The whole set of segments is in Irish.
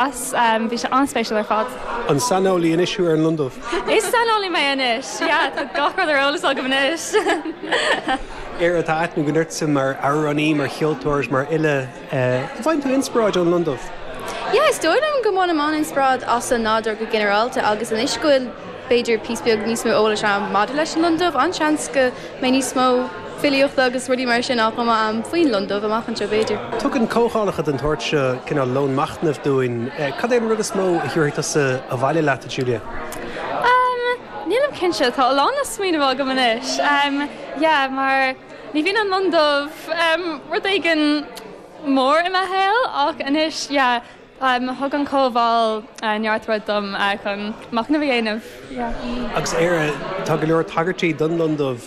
Bhí sé an-spéisiúil ar fad. An saineolaí anois thú ar an lon dubh? Is saineolaí mé anois, yeah, tá gach rud ar eolas agam anois. Éire, tá aithne againn ortsa mar amhránaí, mar cheoltóir is mar fhile. An bhfaigheann tú inspioráid ón lon dubh? Yeah, is dóigh liom go mbainim an-inspioráid as an nádúr go ginearálta agus anois go bhfuil b'fhéidir píosa beag níos mó eolais agam maidir leis an lon dubh, an-seans go mbeidh níos mó filíochta agus rudaí mar sin á chumadh agam faoin lon dubh amach anseo b'fhéidir. Tugann comhdhálacha den tsórt seo cineál lón machnaimh dúinn. Cad é an rud is mó a thabharfaidh tusa abhaile leat, a Julia? Umm, nílim cinnte, tá a lán le smaoineamh agam anois. Umm, yeah, mar ní bhíonn an lon dubh, umm, rud éigin mór i mo shaol ach anois, yeah, Thug an chomhdháil neart rud dom chun machnamh a dhéanamh. Agus Éire, tá go leor tagairtí don lon dubh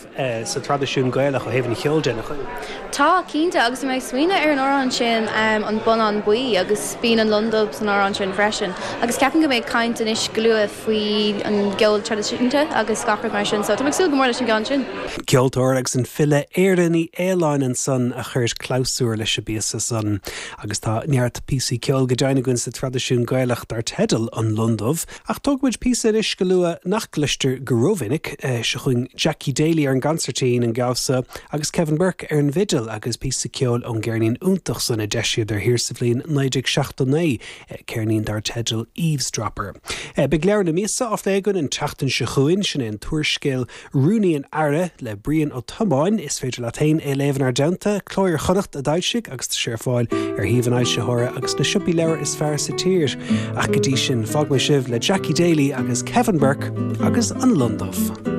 sa traidisiún Gaelach ó thaobh an cheoil de, nach bhfuil? Tá, cinnte, agus bhí mé ag smaoineamh ar an amhrán sin, An Bonnán Buí, agus bíonn an lon dubh san amhrán sin freisin. Agus ceapaim go mbeidh caint anois go luath faoi an gceol traidisiúnta agus gach rud mar sin, so tá mé ag súil go mór leis an gceann sin. Ceoltóir agus an file Éire Ní Fhaoláin ansan a chuir clabhsúr leis an bpíosa san. Agus tá neart píosaí ceoil go deimhin againn sa traidisiún Gaelach dar teideal An Lon Dubh, ach tógfaimid píosa anois go luath nach gcloistear go rómhinic. Seo chugainn Jackie Daly ar an gconsairtín, an damhsa, agus Kevin Burke ar an bhfidil agus píosa ceoil ón gceirnín iontach san a d'eisíodar thiar sa bhliain 1979, ceirnín dar teideal Eavesdropper. Beidh leabhar na míosa á phlé againn an tseachtain seo chugainn, sin é an t-úrscéal Rúnaí an Aire le Brian Ó Tiomáin. Is féidir leat féin é a léamh inár dteannta. Cló Iar-Chonnacht a d'fhoilsigh agus tá sé ar fáil ar shuíomh an fhoilsitheora agus sna siopaí leabhar is fearr sa tír. Ach go dtí sin, fágfaidh mé sibh le Jackie Daly agus Kevin Burke agus An Lon Dubh.